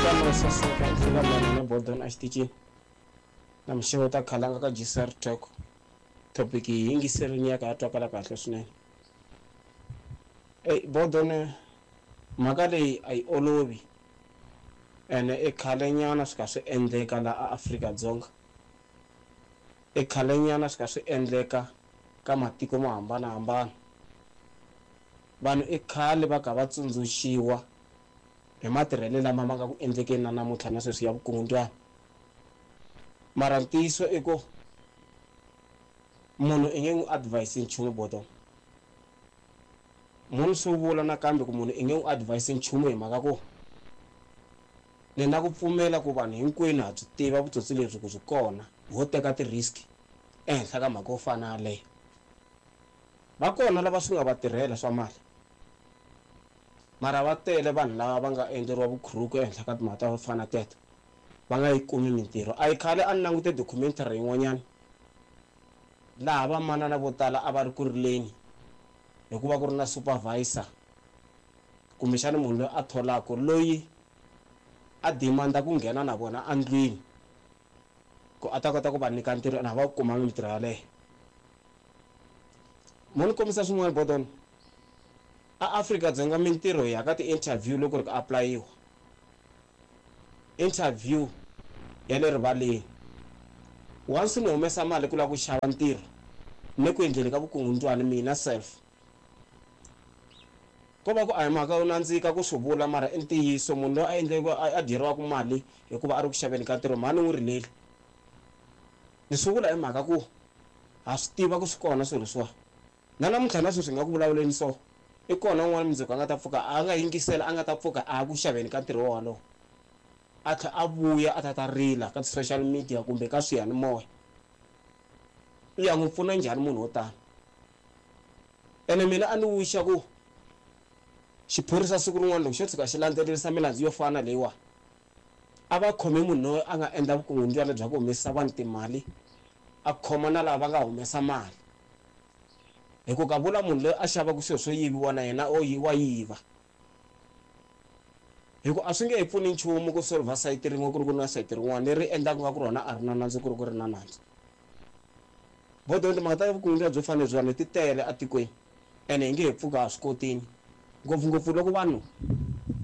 Nhlikani wo saseka i hlula mani na Bodon exitichini na mixavo ta khalanga ka GCR Talk. Topic yi yingiserini ya ka ya twakala kahle swinene. Ey Bodon mhaka leyi a yi olovi ene i khale nyana swi kha swi endleka la a Afrika-Dzonga. I khale nyana swi kha swi endleka ka matiko mo hambanahambana. Vanhu i khale va kha va tsundzuxiwa hi matirhelo lama ma nga ku endlekeni na namuntlha na sweswi ya vukungundzwana. Mara ntiyiso i ku munhu i nge n'wi advise nchumu Bodon. Munhu swi vula nakambe ku munhu i nge n'wi advise nchumu hi mhaka ku ni na ku pfumela ku vanhu hinkwenu ha byi tiva vutsotsi lebyi ku byi kona ho teka ti-risk ehenhla ka mhaka yo fana na yaleyo. Va kona lava swi nga va tirhela swa mali mara va tele vanhu lava va nga endleriwa vukhuruku ehenhla ka timhaka to fana na teto va nga yi kumi mintirho. A yi khale a ni langute documentary yin'wanyana laha vamanana vo tala a va ri ku rileni hikuva ku ri na supervisor kumbexana munhu loyi a tholaka loyi a demand-a ku nghena na vona endlwini ku a ta kota ku va nyika ntirho ene a va kumanga mintirho yaleyo. Mo ni kombisa swin'wana Bodon a Afrika-Dzonga mintirho ya ka ti-interview loko ri ku apulayiwa interview ya le rivaleni once ni humesa mali ku lava ku xava ntirho ni ku endleni ka vukungundzwani mina self ko va ku a hi mhaka yo nandzika ku swi vula mara i ntiyiso munhu loyi a endleke a dyeriwaka mali hikuva a ri ku xaveni ka ntirho mhani n'wi rileli ni swi vula hi mhaka ku ha swi tiva ku swi kona swilo leswiwa na namuntlha na sweswi hi nga ku vulavuleni so i kona un'wana mundzuku a nga ta pfuka a nga yingisela a nga ta pfuka a ya ku xaveni ka ntirho wolowo a tlhela a vuya a ta ta rila ka ti-social media kumbe ka swiyanimoya u ya n'wi pfuna njhani munhu wo tani ene mina a ni wixa ku xiphorisa siku rin'wana loko xo tshuka xi landzelerisa milandzu yo fana leyiwa a va khome munhu loyi a nga endla vukungundzwana bya ku humesa vanhu timali a khoma na lava va nga humesa mali hi ku ka vula munhu loyi a xavaka swilo swo yiviwa na yena o wa yiva hi ku a swi nge he pfuni nchumu ku solver sayiti rin'we ku ri ku na sayiti rin'wana leri endlaka nga ku rona a ri na nandzu ku ri ku ri na nandzu. Bodon timhaka ta vukungundzwana byo fana lebyiwani ti tele etikweni ene hi nge he pfuki ha swi kotini ngopfungopfu loko vanhu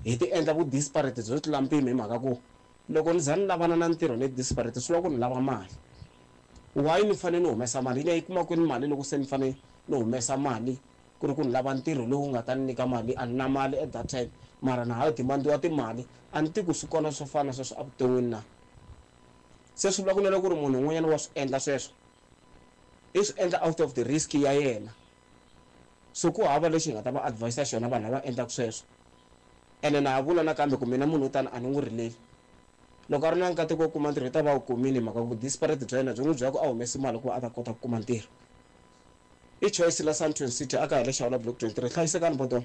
hi ti endla vu disparate byo tlula mpimo hi mhaka ku loko ni za ni lavana na ntirho ni disparate swi vula ku ni lava mali why ni fanele ni humesa mali ni ya yi kuma kwini mali loko se ni fanele ni humesa mali ku ri ku ni lava ntirho lowu nga ta ni nyika mali a ni na mali at that time mara na ha demandiwa timali a ni tivi ku swi kona swo fana na sweswo evuton'wini na se swi vula ku na loko ku ri munhu un'wanyana wa swi endla sweswo i swi endla out of the risk ya yena so ku hava lexi hi nga ta va advise xona vanhu lava endlaka sweswo ene na ha vula nakambe ku mina munhu wo tani a ni n'wi rileli loko a ri na nkateko wo kuma ntirho i ta va wu kumile hi mhaka ku disparate bya yena byi n'wi byela ku a humesi mali ku va a ta kota ku kuma ntirho i choice la Sandton City a ka ha le Xawula block 23 hlayisekani Bodon.